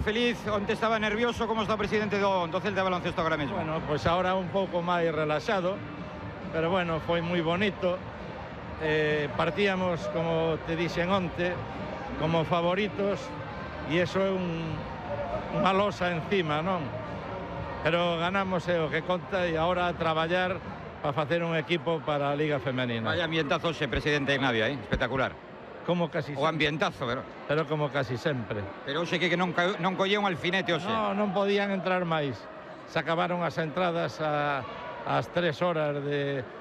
Feliz, onte estaba nervioso, como está o presidente do Celta de baloncesto agora mesmo? Bueno, pois agora un pouco máis relaxado, pero bueno, foi moi bonito. Partíamos, como te dixen onte, como favoritos, e iso é unha losa encima, non? Pero ganamos é o que conta, e agora a traballar para facer un equipo para a Liga Femenina. Vaya ambientazo xe, presidente en Navia, espectacular. Como casi O sempre. ambientazo, Pero como casi sempre. pero hoxe que non collía un alfinete hoxe. Non podían entrar máis. Se acabaron as entradas ás 3 horas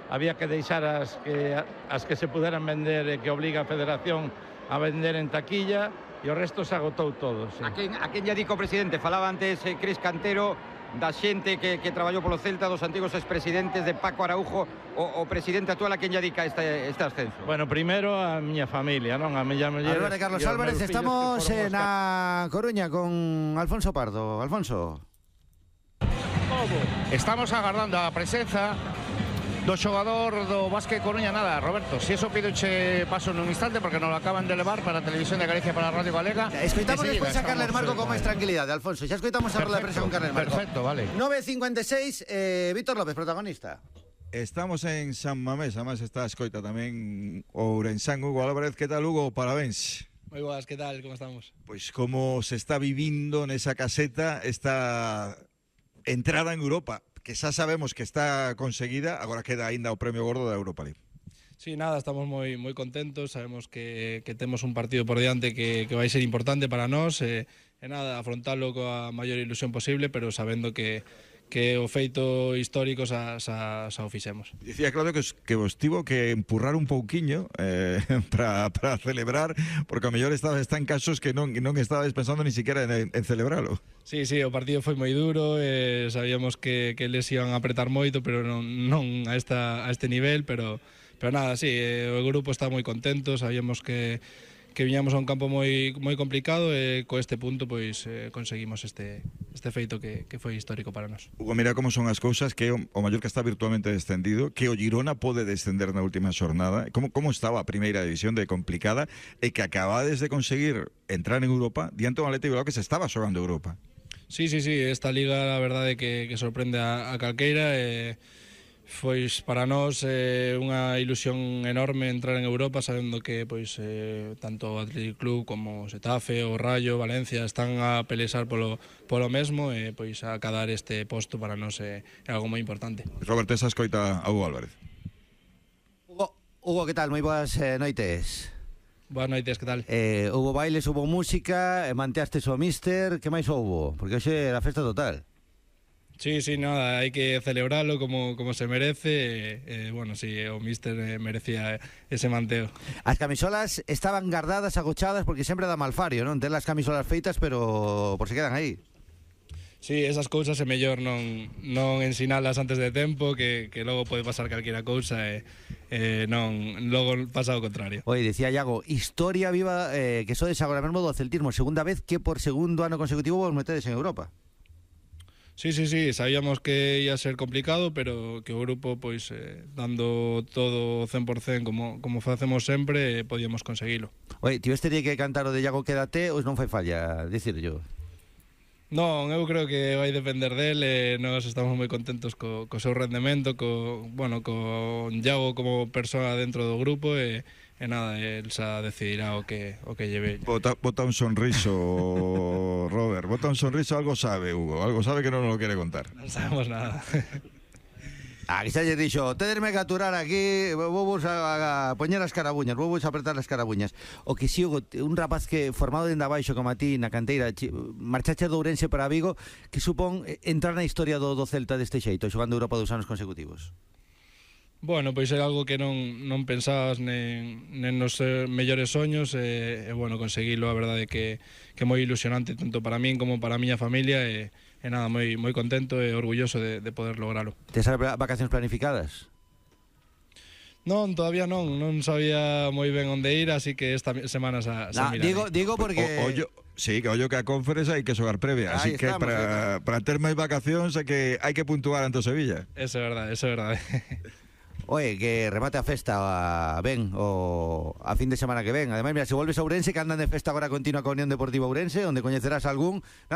había que deixar as que se puderan vender e que obliga a Federación a vender en taquilla, e o resto se agotou todo, sí. A quen lle dico, presidente? Falaba antes Cris Cantero da xente que traballou polo Celta, dos antigos expresidentes, de Paco Araujo, o presidente actual, a quen lle dedica este ascenso? Bueno, primeiro a miña familia, non? A miña muller. Álvarez, Carlos Álvarez, estamos na Coruña con Alfonso Pardo. Alfonso. Estamos agardando a presenza do xogador do Básquet Coruña. Nada, Roberto, si eso pidoche paso nun instante, porque nos lo acaban de levar para a Televisión de Galicia, para a Radio Galega. Escoitamos despois a Carles Marco con máis tranquilidade, Alfonso. Xa escoitamos a roda de prensa con Carles Marco. Perfecto, vale. 9:56, Víctor López, protagonista. Estamos en San Mamés, además está a escoita tamén o ourensán Hugo Álvarez. Que tal, Hugo? Parabéns. Moi boas, que tal? Como estamos? Pois como se está vivindo nesa caseta esta entrada en Europa, que xa sabemos que está conseguida, agora queda aínda o premio gordo da Europa League. Sí, nada, estamos moi contentos, sabemos que temos un partido por diante que vai ser importante para nós, e nada, afrontalo coa maior ilusión posible, pero sabendo que o feito histórico xa o fixemos. Dicía Claudio que vos tivo que empurrar un pouquiño para celebrar, porque a mellor estabas tan casos que non estabas pensando ni siquiera en celebralo. Sí, o partido foi moi duro, sabíamos que eles iban a apretar moito, pero non a este nivel, pero nada, sí, o grupo está moi contento, sabíamos que viñamos a un campo moi complicado, e co este punto pois conseguimos este feito que foi histórico para nós. Hugo, mira como son as cousas, que o Mallorca está virtualmente descendido, que o Girona pode descender na última xornada. Como estaba a primeira división de complicada, e que acabades de conseguir entrar en Europa diante do Athletic Bilbao, que se estaba xogando Europa. Sí, esta liga, a verdade, que sorprende a calqueira, pois para nós unha ilusión enorme entrar en Europa, sabendo que pois tanto o Athletic Club como o Xetafe, o Rayo, Valencia están a pelexar polo mesmo, e pois a cadar este posto para nós é algo moi importante. Roberto, esa escoita a Hugo Álvarez. Hugo, que tal? Moi boas noites. Boas noites, que tal? Hubo bailes, hubo música, manteastes o míster, que máis houbo? Porque hoxe era festa total. Sí, nada, hai que celebralo como se merece, bueno, sí, o míster merecía ese manteo. As camisolas estaban guardadas, agochadas, porque sempre dá malfario, non? Ten as camisolas feitas, pero por se quedan aí. Sí, esas cousas é mellor non ensinalas antes de tempo, que logo pode pasar calquera cousa, logo pasa o contrario. Oi, dicía Iago, historia viva, que sodes agora mesmo do celtismo, segunda vez que por segundo ano consecutivo vos metedes en Europa. Sí, sabíamos que ia ser complicado, pero que o grupo, pois, dando todo 100% como facemos sempre, podíamos conseguilo. Oi, tiveste que cantar o de Iago Quédate, ou non fai falla dicir yo? Non, eu creo que vai depender del, nós estamos moi contentos co seu rendemento, co Iago como persoa dentro do grupo, e nada, el xa decidirá o que lleve. Bota un sonriso, Robert, bota un sonriso, algo sabe, Hugo, algo sabe que non nos lo quere contar. Non sabemos nada. Aquí xa lle dixo, tederme que aturar aquí, vou a poñer as carabuñas, vou a apretar as carabuñas. O que si, Hugo, un rapaz que formado dende abaixo como a ti na canteira, marchache de Ourense para Vigo, que supón entrar na historia do Celta deste xeito, xogando Europa 2 anos consecutivos. Bueno, pois é algo que non pensabas nen nos mellores soños, e bueno, conseguilo, a verdade que é moi ilusionante tanto para min como para a miña familia, e nada, moi contento e orgulloso de poder logralo. Tes as vacacións planificadas? Non, todavía non sabía moi ben onde ir, así que esta semana xa miraré. Digo porque... Sí, que ollo que a Conference hai que xogar previa, así que para ter máis vacacións hai que puntuar ante o Sevilla. Eso é verdade. Oye, que remate a festa ben a fin de semana que ven. Ademais, mira, se volves a Ourense, que andan de festa agora continua con Unión Deportiva Ourense, onde coñecerás algún...